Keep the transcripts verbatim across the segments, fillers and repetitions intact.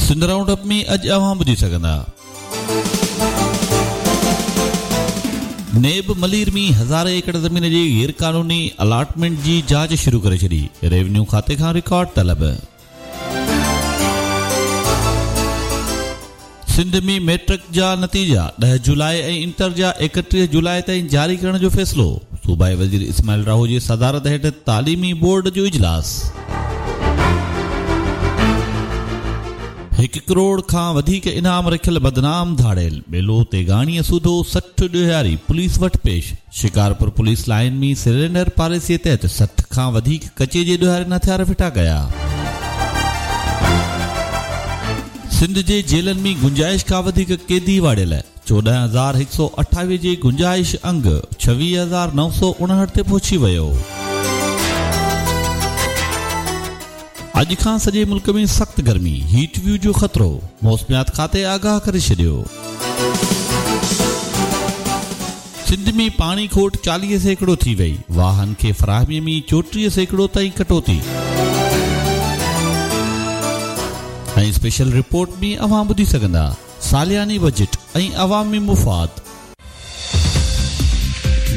Sindh round up ۾ اڄ اوهان ٻڌي سگهندا. نيب ملير ۾ هزارين ايڪڙ زمين جي غير قانوني الاٽمينٽ جي جاچ شروع ڪري ڇڏي، ريونيو کاتي کان رڪارڊ طلب. سنڌ ۾ ميٽرڪ جا نتيجا ڏهه جولاء ۽ انٽر جا ايڪٽيهه جولاء تائين جاري ڪرڻ جو فيصلو، صوبائي وزير اسماعيل راهو جي صدارت هيٺ تعليمي بورڊ جو اجلاس. هڪ ڪروڙ کان وڌيڪ انعام رکيل بدنام ڌاڙيل ٻيلو تيغاڻيء سوڌو سٺ ڏوهاري پوليس وٽ پيش، شڪارپور پوليس لائين ۾ سرينڊر پاليسيء تحت سٺ کان وڌيڪ ڪچي جي ڏوهارين هٿيار ڦٽا ڪيا. سنڌ جي جيلن ۾ گنجائش کان وڌيڪ قيدي واڙيل، چوڏهن هزار هڪ سؤ اٺاويهه جي گنجائش انگ ڇويهه هزار نو سؤ اڻهٺ تي پهچي ويو. اڄ کان سڄي ملڪ ۾ سخت گرمي، هيٽ ويو جو خطرو، موسميات کاتي آگاهه ڪري ڇڏيو. سنڌ ۾ پاڻي کوٽ چاليهه سيڪڙو ٿي وئي، واهن کي فراهمي ۾ چوٽيهه سيڪڙو تائين ڪٽوتي. ۽ اسپيشل رپورٽ ۾ اوهان ٻڌي سگهندا سالياني بجيٽ ۽ عوامي مفاد.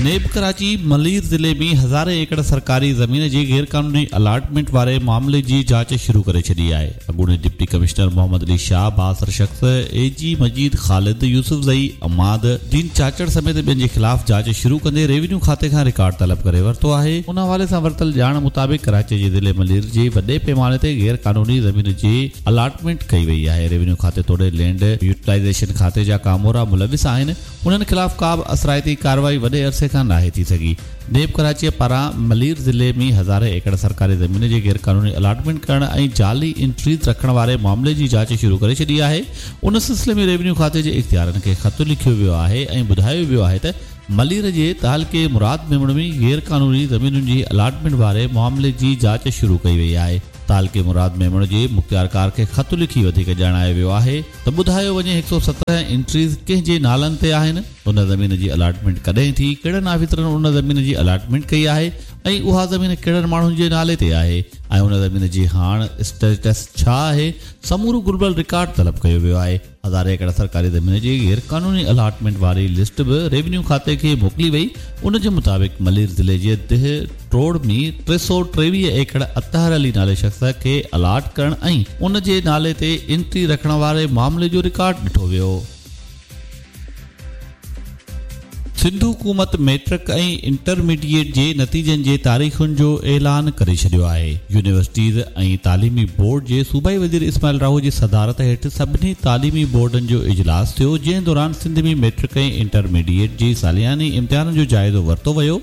نيب ڪراچي ملير ضلعي ۾ هزارين ايڪڙ سرڪاري زمين جي غيرقانوني الاٽمينٽ واري معاملي جي جاچ شروع ڪري ڇڏي آهي. اڳوڻي ڊپٽي ڪمشنر محمد علي شاهه، بااثر شخص اي جي مجيد خالد يوسفزئي، عماد الدين چاچڙ سميت ٻين جي خلاف جاچ شروع ڪندي ريونيو کاتي کان رڪارڊ طلب ڪري ورتو آهي. ان حوالي سان ورتل ڄاڻ مطابق ڪراچي جي ضلعي ملير جي وڏي پيماني تي غيرقانوني زمين جي الاٽمينٽ ڪئي وئي آهي. ريونيو کاتي توڙي لينڊ يوٽيلائيزيشن کاتي جا ڪامورا ملوث آهن، انهن خلاف ڪا به اثرائتي ڪارروائي وڏي عرصي کان ناهي ٿي سگهي. نيب ڪراچيء پاران ملير ضلعي ۾ هزارين ايڪڙ سرڪاري زمين جي غيرقانوني الاٽمينٽ ڪرڻ ۽ جعلي انٽريز رکڻ واري معاملي جي جاچ شروع ڪري ڇڏي آهي. ان سلسلي ۾ ريونيو کاتي جي اختيارين کي خط لکيو ويو آهي ۽ ٻڌايو ويو آهي ته ملير جي تعلقي مراد ميمڻ ۾ غيرقانوني زمينن جي الاٽمينٽ واري معاملي جي جاچ شروع ڪئي وئي آهي. تعلقي مراد ميمڻ جي مختيارڪار کي خط لکي وڌيڪ ڄاڻايو ويو آهي ته ٻڌايو وڃي هڪ سؤ سترهن انٽريز ڪنهن جي نالن تي آهن، ان زمين جي الاٽمينٽ ڪڏهن ٿي، ڪهڙن آفيسرن ان زمين جي الاٽمينٽ ڪئي آهي ۽ اها زمين ڪهڙن ماڻهن جي نالي تي آهي ۽ ان زمين جي هاڻ اسٽيٽس ڇا آهي، سمورو گهربل رڪارڊ طلب ڪيو ويو آهي. هزارين ايڪڙ سرڪاري زمين جي غيرقانوني الاٽمينٽ واري لسٽ به ريونيو کاتي کي موڪلي وئي. ان جي مطابق ملير ضلعي جي ديهه ٽوڙ ۾ ٽي سؤ ٽيويهه ايڪڙ اطهر علي نالي شخص کي الاٽ ڪرڻ ۽ ان جي نالي تي انٽري رکڻ واري معاملي جو رڪارڊ ڏٺو ويو. سنڌ حڪومت ميٽرڪ ۽ انٽرميڊيئيٽ جي نتيجن جي تاريخن جو اعلان ڪري ڇڏيو آهي. يونيورسٽيز ۽ تعليمي بورڊ جي صوبائي وزير اسماعيل راهو جي صدارت هيٺ سڀني تعليمي بورڊن جو اجلاس ٿيو، جنهن دوران سنڌ ۾ ميٽرڪ ۽ انٽرميڊيئيٽ جي سالياني امتحانن جو جائزو ورتو ويو.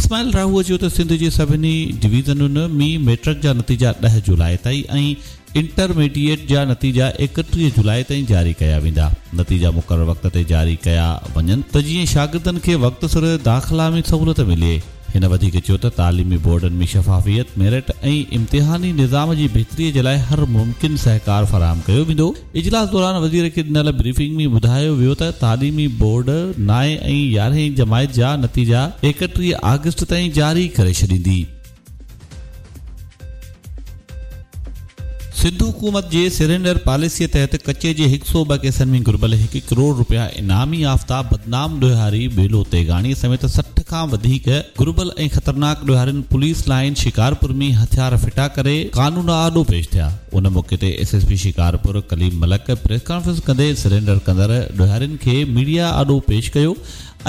اسماعيل راهو چيو ته سنڌ جي سڀني ڊويزنن ۾ ميٽرڪ جا نتيجا ڏهه جولاء تائين ۽ انٽرميڊيئيٽ جا نتيجا ايڪٽيهه جولاء تائين جاري ڪيا ويندا. نتيجا مقرر وقت تي جاري ڪيا وڃن ته جيئن شاگردن کي وقت سر داخلا ۾ سهولت ملي. هن وڌيڪ چيو ته تعليمي بورڊن ۾ شفافيت، ميرٽ ۽ امتحاني نظام جي بهتري جي لاء هر ممڪن سهڪار فراهم ڪيو ويندو. اجلاس دوران وزير کي ڏنل بريفنگ ۾ ٻڌايو ويو ته تعليمي بورڊ نائين ۽ يارهين جماعت جا نتيجا ايڪٽيهه آگسٽ تائين جاري ڪري ڇڏيندي. سنڌ حڪومت جي سرينڊر پاليسيء تحت ڪچي جي هڪ سؤ ٻه ڪيسن ۾ گهربل هڪ ڪروڙ رپيا انعامي يافته بدنام ڏوهاري ٻيلو تيغاڻي سميت سٺ کان وڌيڪ گهربل ۽ خطرناڪ ڏوهارين پوليس لائين شڪارپور ۾ هٿيار ڦٽا ڪري قانون آڏو پيش ٿيا. ان موقعي تي S S P Shikarpur Kaleem Malik press conference ڪندي سرينڊر ڪندڙ ڏوهارين کي ميڊيا آڏو پيش ڪيو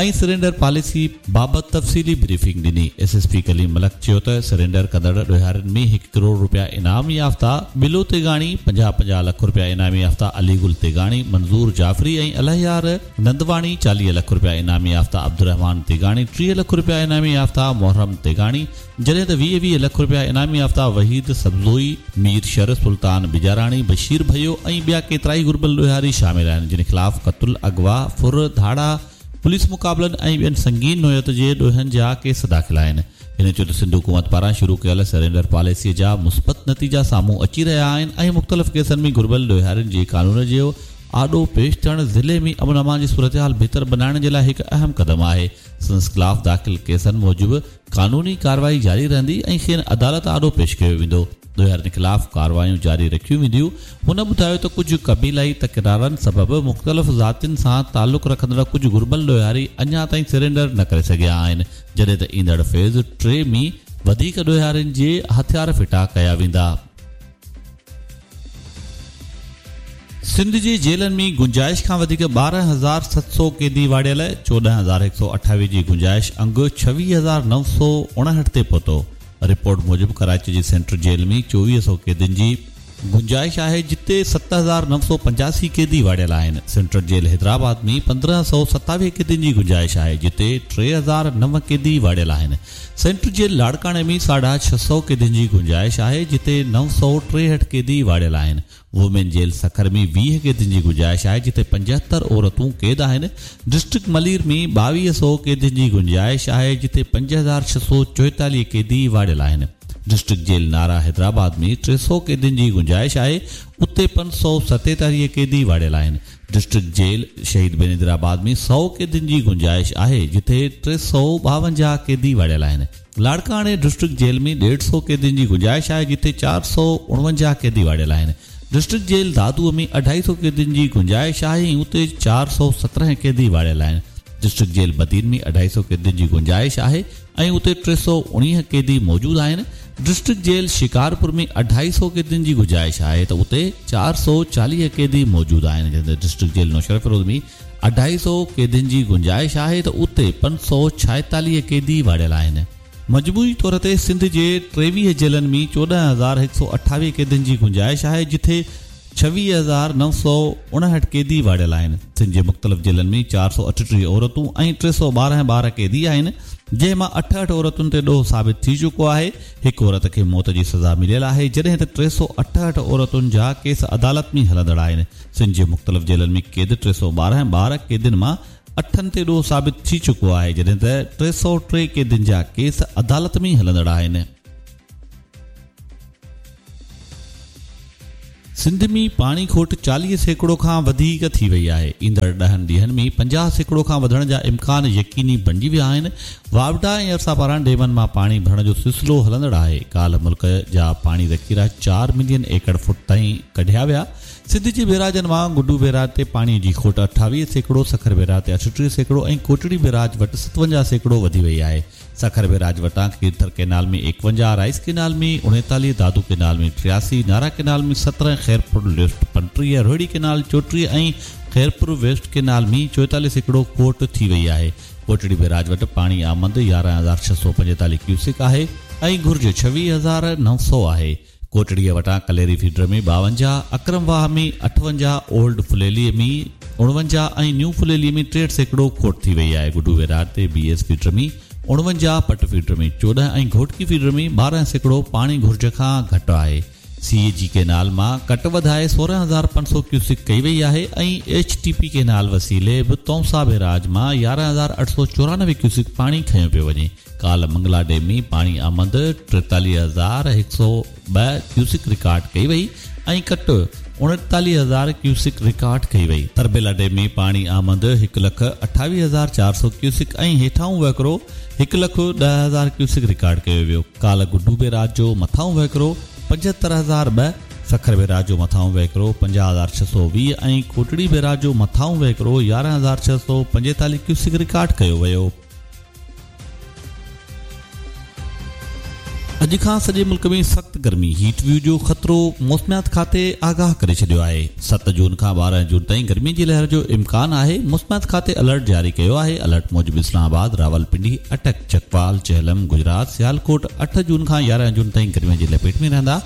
۽ سرينڊر پاليسي بابت تفصيلي بريفنگ ڏني. S S P Kaleem Malik چيو ته سرينڊر ڪندڙ ڏوهارين ۾ هڪ ڪروڙ رپيا انعام يافته بلو تيغاڻي، پنجاهه پنجاهه لک رپيا انعام يافته علي گل تيغاڻي، منظور جعفري ۽ الهيار نندواڻي، چاليهه لک رپيا انعام يافته عبدالرحمان تيغاڻي، ٽيهه لک رپيا انعام يافته محرم تيغاڻي، جڏهن ته ويهه ويهه لک رپيا انعام يافته وحيد سبزوئي، مير شر، سلطان بجاراڻي، بشير ڀيو ۽ ٻيا ڪيترائي گهربل ڏوهاري شامل آهن، جن خلاف قتل، اغوا، ڦر، ڌاڙا، پوليس مقابلن ۽ ٻين سنگين نوعيت جي ڏوهن جا ڪيس داخل آهن. هن چيو ته سنڌ حڪومت پاران شروع ڪيل سرينڊر پاليسيء جا مثبت نتيجا سامهون اچي رهيا آهن ۽ مختلف ڪيسن ۾ گهربل ڏوهارين جي قانون جي آڏو پيش ٿيڻ ضلعي ۾ امن امان جي صورتحال بهتر بنائڻ جي لاء هڪ اهم قدم آهي. سندس خلاف داخل ڪيسن موجب قانوني ڪارروائي جاري رهندي ۽ کين عدالت آڏو پيش ڪيو ويندو. ڏوهارين خلاف ڪارروايون جاري رکيون وينديون. هن ٻڌايو ته ڪجهه قبيلائي تڪرارن سبب مختلف ذاتين سان تعلق رکندڙ ڪجهه گهربل ڏوهاري اڃا تائين سرينڊر نه ڪري سگهيا آهن، جڏهن ته ايندڙ فيز ٽي ۾ وڌيڪ ڏوهارين جي هٿيار ڦٽا ڪيا ويندا. سنڌ جي جيلن ۾ گنجائش کان وڌيڪ ٻارهن هزار ست سؤ قيدي واڙيل، چوڏهن هزار هڪ سؤ اٺاويهه جي گنجائش انگ ڇويهه هزار نو سؤ اڻهٺ تي پهتو. رپورٽ موجب ڪراچي جي سينٽرل جيل ۾ چوويهه سؤ قيدين جي گنجائش آهي، جتي ست هزار نو سؤ پنجاسي قيدي واڙيل آهن. سينٽرل جيل حيدرآباد ۾ پندرهن سؤ ستاويهه قيدين جي گنجائش آهي، جتي ٽي هزار نو قيدي واڙيل آهن. سينٽرل جيل لاڙڪاڻي ۾ ساڍا ڇهه سؤ قيدين جي گنجائش آهي، جتي نو سؤ ٽيهٺ قيدي واڙيل آهن. وومين جيل سکر ۾ ويهه قيدين جي گنجائش آهي، جتي پنجهتر عورتون قيد آهن. ڊسٽرڪٽ ملير ۾ ٻاويهه سؤ قيدين جي گنجائش آهي، جتي پنج هزار ڇهه سؤ چوئيتاليهه قيدي واڙيل آهن. ڊسٽرڪٽ جيل نارا حيدرآباد ۾ ٽي سؤ قيدين جي گنجائش آهي، اتي پنج سؤ ستيتاليهه قيدي واڙيل آهن. ڊسٽرڪٽ جيل شهيد بينظيرآباد ۾ سؤ قيدين جي گنجائش آهي، جتي ٽي سؤ ٻاونجاهه قيدي واڙيل آهن. لاڙڪاڻي ڊسٽرڪٽ جيل ۾ ڏيڍ سؤ قيدين جي گنجائش آهي، جتي چار سؤ اڻونجاهه قيدي واڙيل آهن. ڊسٽرڪٽ جيل دادوءَ ۾ اڍائي سؤ قيدين جي گنجائش آهي ۽ اتي چار سؤ سترهن قيدي واڙيل آهن. ڊسٽرڪٽ جيل بدين ۾ اڍائي سؤ قيدين جي گنجائش آهي ۽ اتي ٽي سؤ اڻويهه قيدي موجود آهن. ڊسٽرڪٽ جيل شڪارپور ۾ اڍائي سؤ قيدين جي گنجائش آهي ته اتي چار سؤ چاليهه قيدي موجود آهن. جڏهن ته ڊسٽرڪٽ جيل نوشهروفيروز ۾ اڍائي سؤ قيدين جي گنجائش آهي ته اتي پنج سؤ ڇائيتاليهه قيدي واڙيل آهن. مجموعي طور تي سنڌ جي ٽيويهه جيلن ۾ چوڏهن هزار هڪ سؤ اٺاويهه قيدين جي گنجائش آهي، جتي ڇويهه هزار نو سؤ اڻهٺ قيدي واڙيل آهن. سنڌ جي مختلف جيلن ۾ چار سؤ اٺٽيهه عورتون ۽ ٽي سؤ ٻارهن ٻار قيدي آهن، جنهن مان اٺهٺ عورتن تي ڏوهه ثابت ٿي چڪو آهي. هڪ عورت کي موت جي سزا مليل آهي، جڏهن ته ٽي سؤ اٺهٺ عورتن جا ڪيس عدالت ۾ هلندڙ آهن. سنڌ جي مختلف جيلن ۾ قيد ٽي سؤ ٻارهن ٻار قيدين مان اٺن تي ڏوهه ثابت ٿي چڪو آهي، جڏهن ته ٽي سؤ ٽي قيدين جا ڪيس عدالت ۾ هلندڙ آهن. سنڌ ۾ پاڻي کوٽ چاليهه سيڪڙو کان وڌيڪ ٿي وئي آهي. ايندڙ ڏهن ڏينهن ۾ پنجاهه سيڪڙو کان وڌڻ جا امڪان يقيني بڻجي ويا آهن. واپڊا ۽ ارسا پاران ڊيمن مان پاڻي ڀرڻ جو سلسلو هلندڙ آهي. ڪالهه ملڪ جا پاڻي ذخيرا چار ملين ايڪڙ فوٽ تائين ڪڍيا ويا. سنڌ جي بيراجن مان گڊو بيراج تي پاڻي جي کوٽ اٺاويهه سيڪڙو، سکر بيراج تي اٺٽيهه سيڪڙو ۽ ڪوٽڙي بيراج وٽ ستونجاهه سيڪڙو وڌي وئي آهي. سکر بيراج وٽان کيرٿر ڪينال ۾ ايڪونجاهه، رائيس ڪينال ۾ اڻيتاليهه، دادو ڪينال ۾ ٽياسي، نارا ڪينال ۾ سترهن، خيرپور ليفٽ پنٽيهه، روهڙي ڪينال چوٽيهه ۽ خيرپور ويسٽ ڪينال ۾ چوئيتاليهه سيڪڙو کوٽ ٿي وئي آهي. ڪوٽڙي بيراج وٽ پاڻي آمد يارهن هزار ڇهه سؤ پنجيتاليهه ڪيوسڪ آهي ۽ گهرج ڇويهه هزار نو سؤ آهي. ڪوٽڙيءَ وٽان ڪليري فيڊر ۾ ٻاونجاهه، اڪرم واهه ۾ اٺونجاهه، اولڊ ڦليليءَ ۾ اڻونجاهه ۽ نيو ڦليليءَ ۾ ٽيهٺ سيڪڙو کوٽ ٿي وئي آهي. گڊو بيراج تي بي ايس فيڊر ۾ اڻونجاهه، پٽ فيڊر ۾ چوڏهن ۽ گهوٽڪي فيڊر ۾ ٻارهن سيڪڙو پاڻي گهرج کان گهٽ آهي. سي اي جي ڪينال مان ڪٽ وڌائي سورهن هزار پنج سؤ ڪيوسڪ ڪئي وئي آهي ۽ ايڇ ٽي پي ڪينال وسيلي به تونسا بيراج مان يارهن هزار اٺ سؤ چورانوي ڪيوسڪ پاڻي کنيو پيو وڃي. ڪالهه منگلا ڊيم ۾ پاڻي آمد ٽيتاليهه هزار هڪ سؤ ٻه ڪيوسڪ رڪارڊ ڪئي وئي ۽ ڪٽ اڻيتاليهه هزار ڪيوسڪ رڪارڊ ڪئي وئي. تربيلا ڊيم ۾ پاڻي آمد هڪ لک اٺاويهه هزار چار سؤ ڪيوسڪ ۽ هيٺائون وهڪرو هڪ لک ڏهه هزار ڪيوسڪ رڪارڊ ڪيو ويو. ڪالهه گڊو بيراج جو مٿائون وهڪرو پنجهتر هزار ٻه، سکر بيراج جو مٿائون وهڪرو پنجاهه هزار ڇهه سؤ ويهه ۽ ڪوٽڙي بيراج جو مٿائون وهڪرو يارهن هزار ڇهه سؤ پنجيتاليهه ڪيوسڪ رڪارڊ ڪيو ويو. اڄ کان سڄي ملڪ ۾ سخت گرمي، هيٽ ويو جو خطرو موسميات کاتي آگاهه ڪري ڇڏيو آهي. ست جون کان ٻارهن جون تائين گرمي جي لهر جو امڪان آهي. موسميات کاتي الرٽ جاري ڪيو آهي. الرٽ موجب اسلام آباد، راولپنڊي، اٽڪ، چڪوال، چهلم، گجرات، سيالڪوٽ اٺ جون کان يارهن جون تائين گرمي جي لپيٽ ۾ رهندا.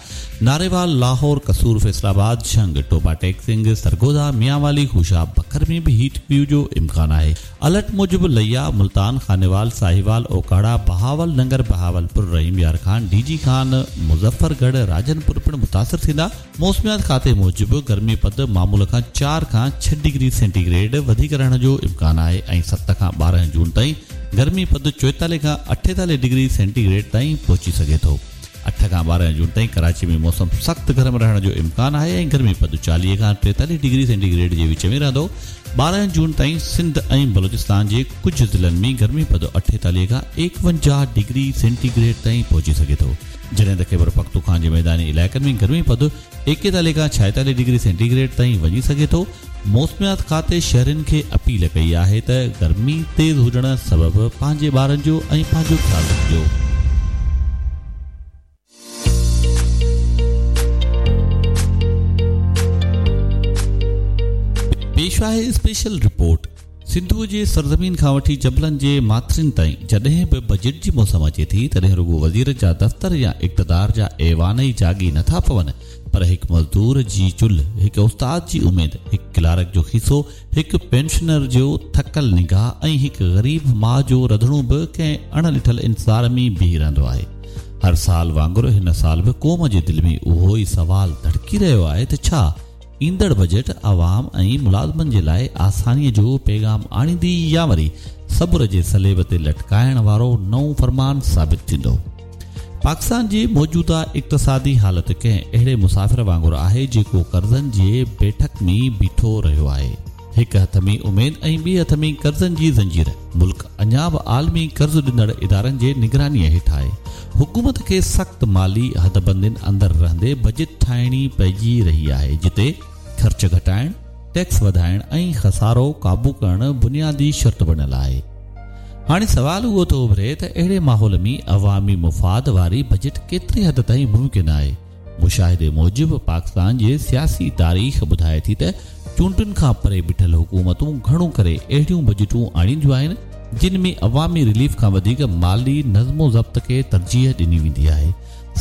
ناريوال، لاهور، قصور، فيصل آباد، جهنگ، ٽوبا ٽيڪ سنگهه، سرگوڌا، ميانوالي، خوشاب، بکر ۾ به هيٽ ويو جو امڪان آهي. الرٽ موجب ليا، ملتان، خانيوال، ساهيوال، اوڪاڙا، بهاول ننگر، بهاولپور، رحيم يار خان، ڊي جي خان، مظفرڳڙهه، راجنپور پڻ متاثر ٿيندا. موسميات کاتي موجب گرمي پد معمول کان چار کان ڇهه ڊگري سينٽي گريڊ وڌيڪ رهڻ جو امڪان آهي ۽ ست کان ٻارهن جون تائين گرمي پد چوئيتاليهه کان اٺيتاليهه ڊگري سينٽي گريڊ تائين پهچي سگهي ٿو. اٺ کان ٻارهن جون تائين ڪراچي ۾ موسم سخت گرم رهڻ جو امڪان آهي ۽ گرمي پد چاليهه کان ٽيتاليهه ڊگري سينٽي گريڊ جي وچ ۾ رهندو. ٻارهن جون تائين سنڌ ۽ بلوچستان جي ڪجهه ضلعن ۾ گرمي پد اٺيتاليهه کان ايڪونجاهه ڊگري سينٽي گريڊ تائين پهچي سگهي ٿو، جڏهن ته خيبر پختونخوا جي ميداني علائقن ۾ گرمي پد ايڪيتاليهه کان ڇائيتاليهه ڊگري سينٽي گريڊ تائين وڃي سگهي ٿو. موسميات کاتي شهرين کي اپيل ڪئي آهي ته گرمي تيز هجڻ سبب پنهنجي ٻارن جو ۽ پنهنجو خيال رکجو. پيش آهي اسپيشل رپورٽ. سنڌوء جي سرزمين کان وٺي جبلن جي ماٿرين تائين جڏهن به بجيٽ جي موسم اچي ٿي، تڏهن رڳو وزير جا دفتر يا اقتدار جا ايوان ئي جاڳي نٿا پون، پر هڪ مزدور جي چلهه، هڪ استاد جي اميد، هڪ ڪلارڪ جو کيسو، هڪ پينشنر جو ٿڪل نگاهه ۽ هڪ غريب ماءُ جو رڌڻو به ڪنهن اڻ ڏٺل انتظار ۾ بيهي رهندو آهي. هر سال وانگر هن سال به قوم جي دل ۾ اهو ئي سوال ڌڙڪي رهيو آهي ته ڇا ايندڙ بجيٽ عوام ۽ ملازمن جي لاءِ آسانيءَ جو پيغام آڻيندي يا وري صبر جي صليب تي لٽڪائڻ وارو نئون فرمان ثابت ٿيندو. پاڪستان جي موجوده اقتصادي حالت ڪنهن اهڙي مسافر وانگر آهي جيڪو قرضن جي بيٺڪ ۾ بيٺو رهيو آهي. هڪ هٿ ۾ اميد ۽ ٻئي هٿ ۾ قرضن جي زنجير. ملڪ اڃا به عالمي قرض ڏيندڙ ادارن جي نگرانيءَ هيٺ آهي. حڪومت کي سخت مالي حدبندين اندر رهندي بجيٽ ٺاهڻي پئجي رهي آهي، جتي خرچ گهٽائڻ، ٽيڪس وڌائڻ ۽ خسارو قابو ڪرڻ بنيادي شرط بڻيل آهي. هاڻي سوال اهو ٿو اڀري ته اهڙي ماحول ۾ عوامي مفاد واري بجيٽ ڪيتري حد تائين ممڪن آهي؟ مشاهدي موجب پاڪستان جي سياسي تاريخ ٻڌائي ٿي ته چونڊن کان پري بيٺل حڪومتون گهڻو ڪري اهڙيون بجيٽون آڻينديون آهن جن ۾ عوامي رليف کان وڌيڪ مالي نظم و ضبط کي ترجيح ڏني ويندي آهي.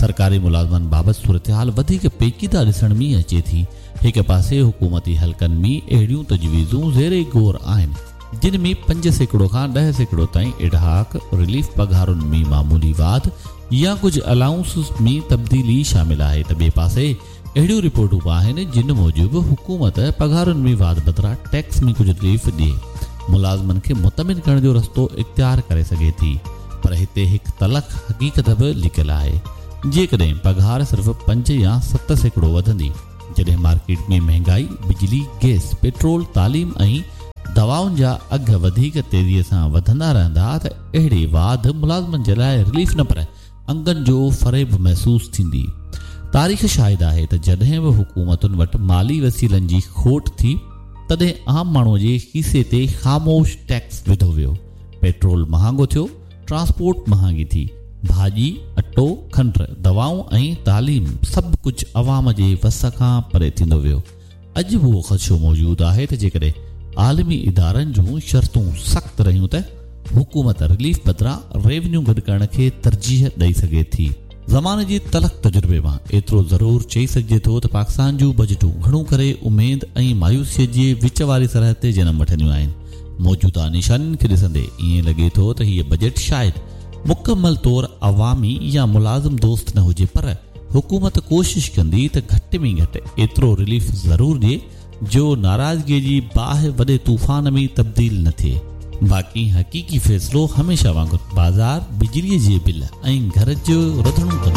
سرڪاري ملازمن بابت صورتحال وڌيڪ پيچيده ڏسڻ ۾ اچي ٿي. هڪ پاسي حڪومتي حلقن ۾ اهڙيون تجويزون زير غور آهن جن ۾ پنج سيڪڙو کان ڏهه سيڪڙو تائين ايڊهاڪ رليف، پگهارن ۾ معمولي واڌ يا ڪجهه الائونسز ۾ تبديلي شامل آهي، ته ٻئي پاسي اهڙيون رپورٽون به آهن جن موجب حڪومت پگهارن ۾ واڌ بدران ٽيڪس ۾ ڪجهه رليف ڏئي ملازمن کي مطمئن ڪرڻ جو رستو اختيار ڪري سگهي ٿي. پر هتي هڪ تلخ حقيقت به لڪيل آهي. جيڪڏهن پگهار صرف پنج يا ست سيڪڙو وڌندي، جڏهن مارڪيٽ ۾ مهانگائي، بجلي، گئس، پيٽرول، تعليم ۽ دوائن جا اگهه وڌيڪ تيزيءَ سان وڌندا رهندا، ته اهڙي واڌ ملازمن جي لاءِ رليف نه پر انگن جو فريب محسوس ٿيندي. تاريخ شاهد آهي ته جڏهن به حڪومتن وٽ مالي وسيلن جي کوٽ ٿي، تڏهن عام ماڻهوءَ جي کيسي تي خاموش ٽيڪس وڌو ويو. پيٽرول مهانگو ٿيو، ٽرانسپورٽ مهانگي ٿي، ڀاڄي، اٽو، کنڊ، دوائون ۽ تعليم سڀ ڪجهه عوام جي وس کان پري ٿيندو ويو. اڄ به اهو خدشو موجود آهي ته جيڪڏهن عالمي ادارن جون شرطون سخت رهيون ته حڪومت رليف بدران ريونيو گڏ ڪرڻ کي ترجيح ڏئي سگهي ٿي. زماني جي تلخ تجربي مان ايترو ضرور چئي سگهجي ٿو ته پاڪستان جون بجيٽون گهڻو ڪري اميد ۽ مايوسيءَ جي وچ واري سرحد تي جنم وٺنديون آهن. موجوده نشانين کي ڏسندي ائين لڳي ٿو ته هيءَ بجيٽ شايد مڪمل طور عوامي يا ملازم دوست نه هجي، پر حڪومت ڪوشش ڪندي ته گهٽ ۾ گهٽ ايترو رليف ضرور ڏئي جو ناراضگيءَ جي باهه وڏي طوفان ۾ تبديل نه ٿئي. باقي حقيقي فيصلو هميشه وانگر بازار، بجليءَ جي بل ۽ گهر جو رڌڻو ڪندو.